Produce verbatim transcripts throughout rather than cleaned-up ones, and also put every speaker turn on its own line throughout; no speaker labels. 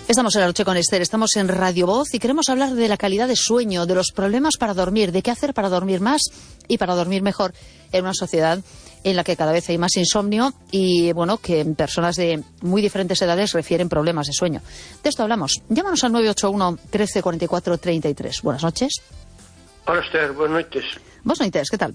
Estamos en La Noche con Esther, estamos en Radio Voz y queremos hablar de la calidad de sueño, de los problemas para dormir, de qué hacer para dormir más y para dormir mejor en una sociedad en la que cada vez hay más insomnio y, bueno, que personas de muy diferentes edades refieren problemas de sueño. De esto hablamos. Llámanos al nueve ocho uno, trece, cuarenta y cuatro, treinta y tres. Buenas noches.
Hola, Esther, buenas noches.
Buenas noches, ¿qué tal?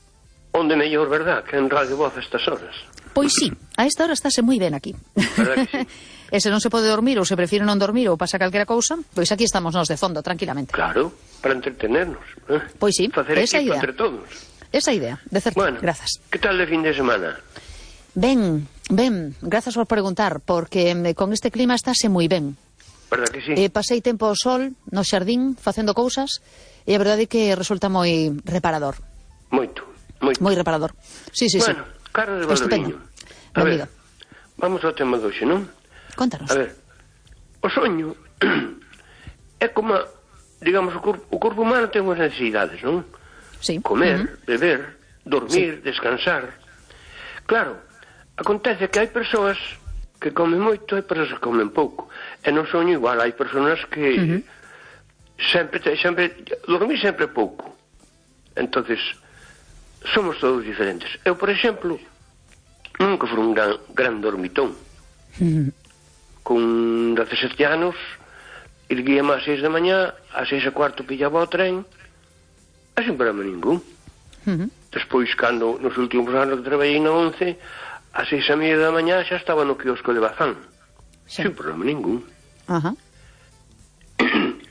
Onde mellor, verdad, que en Radio Voz a estas horas?
Pois sí, a esta hora estáse moi ben aquí.
Verdad que sí?
E se non se pode dormir ou se prefire non dormir ou pasa calquera cousa, pois aquí estamos nós de fondo, tranquilamente.
Claro, para entretenernos. ¿eh?
Pois sí,
Facer
esa
equipo
idea.
entre todos.
Esa idea, de certo,
Bueno,
grazas.
que tal de fin de semana?
Ben, ben, grazas por preguntar, porque eh, con este clima estáse moi ben.
Verdad que sí?
Eh, pasei tempo ao sol, no xardín, facendo cousas, e a verdade é que resulta moi reparador.
Moito, moito.
Moi reparador. Sí, sí,
bueno,
sí.
Carlos de
Estupendo.
Valdoviño. A
Benvido.
ver, vamos ao tema de hoxe, non?
Contanos.
A ver, o soño é como, digamos, o corpo, o corpo humano ten unhas necesidades, non?
Sí.
Comer,
Uh-huh.
beber, dormir, sí. Descansar. Claro, acontece que hai persoas que comen moito e persoas que comen pouco. E no soño igual, hai persoas que uh-huh. sempre, sempre, dormir sempre pouco. Entonces, somos todos diferentes. Eu, por exemplo, nunca fui un gran, gran dormitón.
Uh-huh.
Con dezasete anos, erguíame ás seis da mañá, ás seis e cuarto pillaba o tren, e sin problema ningún.
Uh-huh.
Despois, cando nos últimos anos que traballei na once, ás seis e media da mañá xa estaba no quiosco de Bazán. Sí. Sin problema ningún.
Ajá.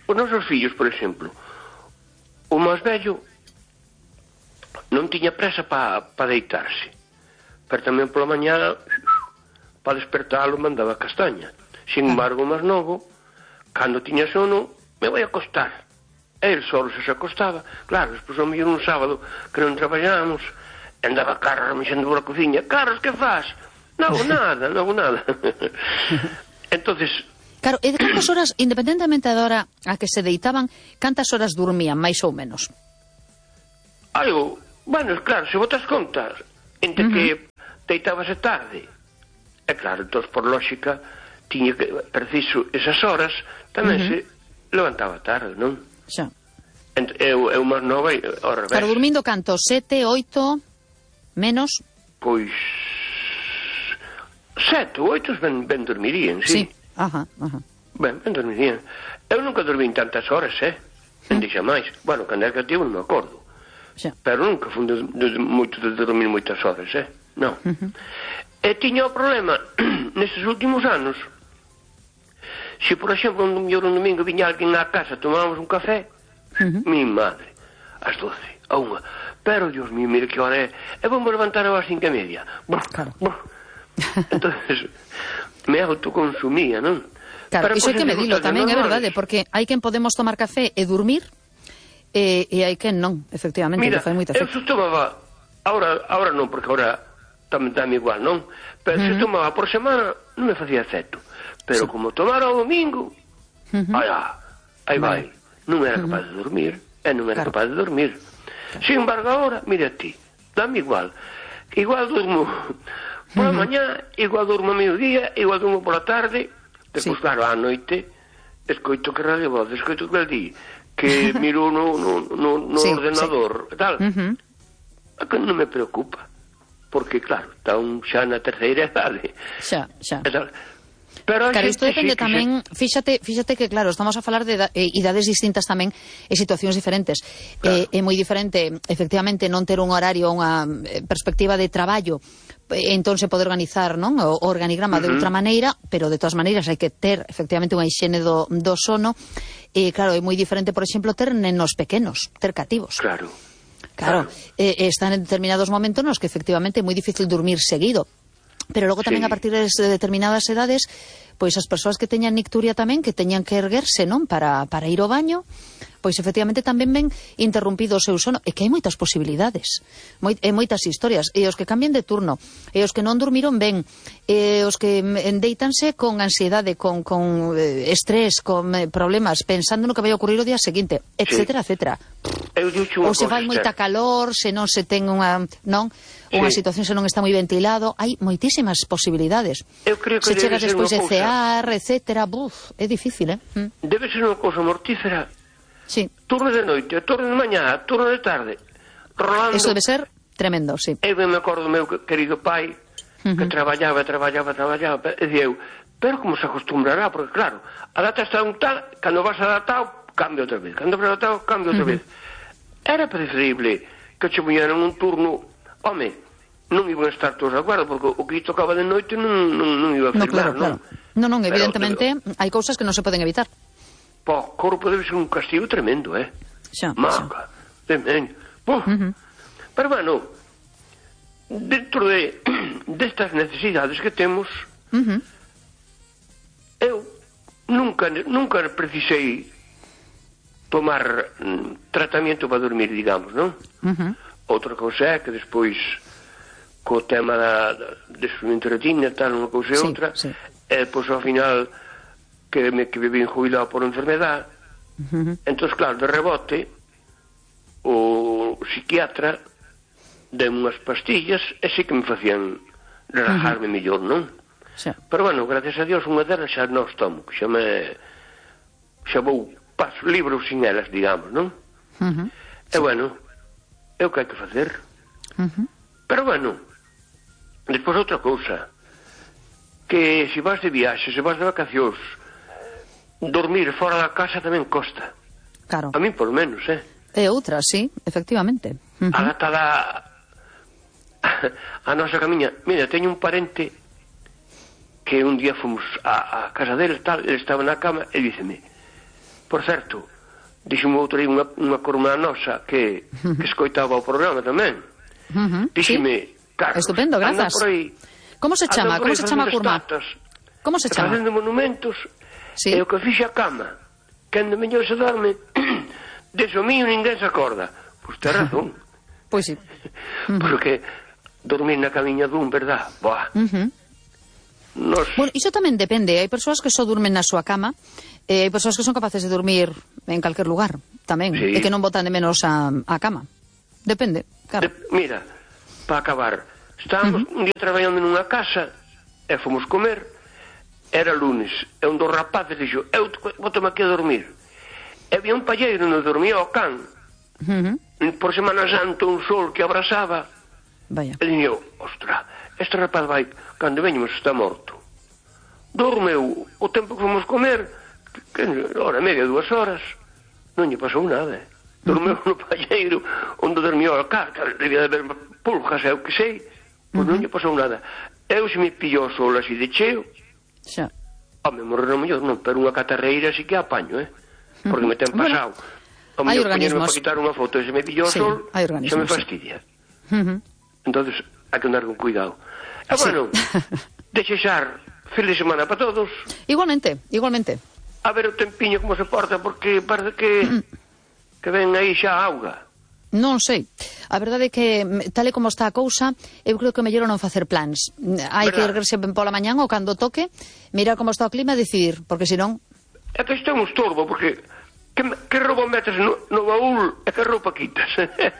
Os nosos fillos, por exemplo, o máis vello non tiña presa para pa deitarse, pero tamén pola mañá para despertalo mandaba castaña. Sin embargo, o máis novo, cando tiña sono, me vai acostar. E el solo se se acostaba. Claro, despois ao mellor un sábado que non traballábamos, andaba Carlos mexendo pola cociña. Carlos, que faz? Non hago nada, non hago nada. Entonces,
claro, e de cantas horas, independentemente da hora a que se deitaban, cantas horas dormían, máis ou menos?
Algo, bueno, claro, se botas contas, entre uh-huh. que deitábase tarde, é claro, entón, por lógica, tiña que, preciso, esas horas, tamén uh-huh. se levantaba tarde, non?
Xa.
Ent, eu, eu máis nova, ao revés.
Claro, dormindo canto? Sete, oito, menos?
Pois, sete, oito ben, ben dormirían, sí.
Sí, ajá, ajá.
Ben, ben dormirían. Eu nunca dormí en tantas horas, eh? Non dixa máis. Bueno, cando era cativo non me acordo.
Xa.
Pero nunca fui de, de, de, moito de dormir moitas horas, eh? Non. Uh-huh. E tiña o problema, nestes últimos anos, se, por exemplo, un mellor un domingo viña alguén á casa, tomábamos un café, uh-huh. mi madre, ás doce, a unha, pero, Dios mío, mire que hora é, e vamos levantar ás cinco e media. Brr,
claro.
brr. Entonces, me autoconsumía, non?
Claro, iso hai que medilo tamén, é verdade, porque hai quen podemos tomar café e dormir, e, e hai quen non, efectivamente,
mira,
que fai moito efecto.
eu se tomaba, ahora, ahora non, porque ahora tamén dame igual, non? Pero uh-huh. se tomaba por semana, non me facía efecto. Pero sí. Como tomara o domingo, uh-huh. ai, aí vai, vale. Non era capaz uh-huh. de dormir, e non era claro. capaz de dormir. Claro. Sin embargo, ahora, mira ti, dame igual. Igual durmo por a uh-huh. mañá, igual durmo a mediodía, igual durmo por a tarde, despois, sí. claro, á noite, escoito que Radio Voz, escoito que el di, que miro no, no, no, no sí, ordenador, sí. tal. Uh-huh. A que non me preocupa. Porque, claro, está un xa na terceira idade.
Xa, xa.
Pero
claro, isto depende sí, tamén, se... fíxate, fíxate que, claro, estamos a falar de eh, idades distintas tamén e situacións diferentes. Claro. Eh, é moi diferente, efectivamente, non ter un horario, unha perspectiva de traballo, entón se pode organizar, non, o organigrama uh-huh. de outra maneira, pero de todas maneiras hai que ter, efectivamente, unha higiene do, do sono. E, claro, é moi diferente, por exemplo, ter nenos pequenos, ter cativos.
Claro.
Claro, claro. Eh, están en determinados momentos nos que efectivamente é moi difícil dormir seguido. Pero logo tamén sí. a partir de determinadas edades, pois as persoas que teñan nicturia tamén, que teñan que erguerse, non, para, para ir ao baño, pois efectivamente tamén ven interrumpido o seu sono, e que hai moitas posibilidades, moi, e moitas historias, e os que cambien de turno, e os que non dormiron ben, e os que endeitanse con ansiedade, con, con eh, estrés, con eh, problemas, pensando no que vai ocurrir o día seguinte, etcétera, sí. etcétera. Ou se vai moita calor, se non se ten unha, non, unha sí. situación se non está moi ventilado, hai moitísimas posibilidades.
Eu creo que
se chegas despois de
cousa...
cear, etcétera, buf, é difícil, eh? Mm.
Debe ser unha cousa mortífera.
Sí.
Turno de noite, turno de mañá, turno de tarde. Rolando.
Eso debe ser tremendo, sí.
Eu me acordo do meu querido pai, uh-huh. que traballaba, traballaba, traballaba, e dicía eu, pero como se acostumbrará, porque claro, a data está un tal, cando vas adaptado, cambia outra vez, cando vas adaptado, cambia outra uh-huh. vez. Era preferible que che puñeran un turno, home, non iban a estar todos de acordo, porque o que tocaba de noite non, non, non iba a firmar,
no, claro, claro. non? Non, non, evidentemente, pero, hai cousas que non se poden evitar.
Po, corpo debe ser un castigo tremendo, eh?
Xa,
Maca, temen. Uh-huh. Pero, bueno, dentro de destas necesidades que temos, uh-huh. eu nunca, nunca precisei tomar mm, tratamento para dormir, digamos, non? Uh-huh. Outra cousa é que despois, co tema da, da desfrumento de retina, tal, unha cousa e sí, outra, sí. e depois ao final... que me que vivín jubilado por enfermedad, uh-huh. entón, claro, de rebote o psiquiatra deu unhas pastillas e sí que me facían relajarme uh-huh. mellor, non? Sí. Pero, bueno, gracias a Dios, unha delas xa non tomo, xa me xa vou paso libros sin elas, digamos, non? Uh-huh. E, sí. bueno, é o que hai que facer. Uh-huh. Pero, bueno, despois outra cousa, que se vas de viaxe, se vas de vacacións, dormir fora da casa tamén costa.
Claro.
A mí, por menos, eh?
É outra, sí, efectivamente. Uh-huh.
A data da... a nosa camiña... Mira, teño un parente que un día fomos a, a casa dele, tal, ele estaba na cama e díceme, por certo, díxeme outro aí unha, unha corma nosa que, uh-huh. que escoitaba o programa tamén. Uh-huh. Díxeme, sí. Carlos,
estupendo, grazas.
Por aí,
como se chama? Como se chama a curma? Como se chama?
Facendo monumentos... Sí. E o que fixe a cama, cando mellor se dorme, deso mío ninguén se acorda. Pois ten razón.
Pois sí.
Porque dormir na camiña dun, verdad? Boa. Uh-huh. Nos...
Bueno, iso tamén depende. Hai persoas que só durmen na súa cama, e hai persoas que son capaces de dormir en calquer lugar, tamén. Sí. E que non botan de menos a, a cama. Depende, claro. De,
mira, para acabar, estábamos uh-huh. un día traballando nunha casa, e fomos comer. Era lunes, e un dos rapaces dixo, eu botome aquí a dormir. E había un palleiro onde dormía o can. Uh-huh. Por Semana Santa un sol que abrasaba.
Vaya.
E dixo, ostra, este rapaz vai, cando veñemos está morto. Dormeu o tempo que fomos comer, que, hora e media, dúas horas, non lle pasou nada. Dormeu uh-huh. no palleiro onde dormía o can, que debía de haber pulgas, é o que sei, pois uh-huh. non lle pasou nada. Eu se me pillou o sol así de cheo, xa. Home, morrer no mellor non, pero unha catarreira sí que apaño, eh? Porque me ten pasado. Bueno, o mellor poñerme para quitar unha foto e se me pillo o sí, sol, se me fastidia. Sí. Uh-huh. Entonces, hai que andar con cuidado. E sí. Bueno, desexar feliz semana para todos.
Igualmente, igualmente.
A ver o tempiño como se porta, porque parece que que ven aí xa a auga.
Non sei. A verdade é que, tal e como está a cousa, eu creo que o mellor non facer plans. Hai que erguerse pola mañán ou cando toque, mirar como está o clima e decidir, porque senón...
É que isto é un estorbo, porque que, que roupa metes no, no baúl e que roupa quitas.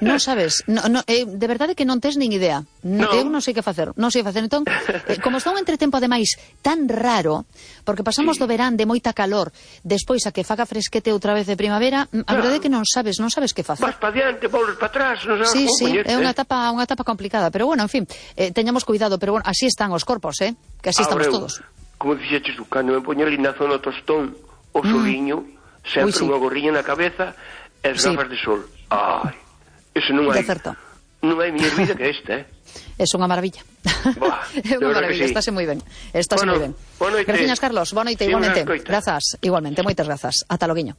Non sabes, no, no, eh, de verdade que non tes nin idea. No. Eu non sei que facer, non sei que facer. Entón, eh, como está un entretempo ademais tan raro, porque pasamos sí. do verán de moita calor, despois a que faga fresquete outra vez de primavera, a claro. verdade é que non sabes, non sabes que facer.
Vas para diante, volves para atrás, non sabes
sí,
como
sí,
poñerte.
É unha etapa, unha etapa complicada, pero bueno, en fin, eh, teñamos cuidado, pero bueno, así están os corpos, eh, que así
Ahora,
estamos todos.
Como dixeches tú, cando me poño ali na zona tostón, o soliño, mm. sempre sí. unha gorriña na cabeza e as gafas sí. de sol. Ai, eso non hai. Non hai miña vida que esta, eh?
É unha maravilla. Buah, é unha maravilla, sí. Estáse moi ben. Estáse
bueno,
moi ben. Gracias, Carlos. Boa noite, sí, igualmente. Grazas, igualmente, moitas grazas. Ata loguiño.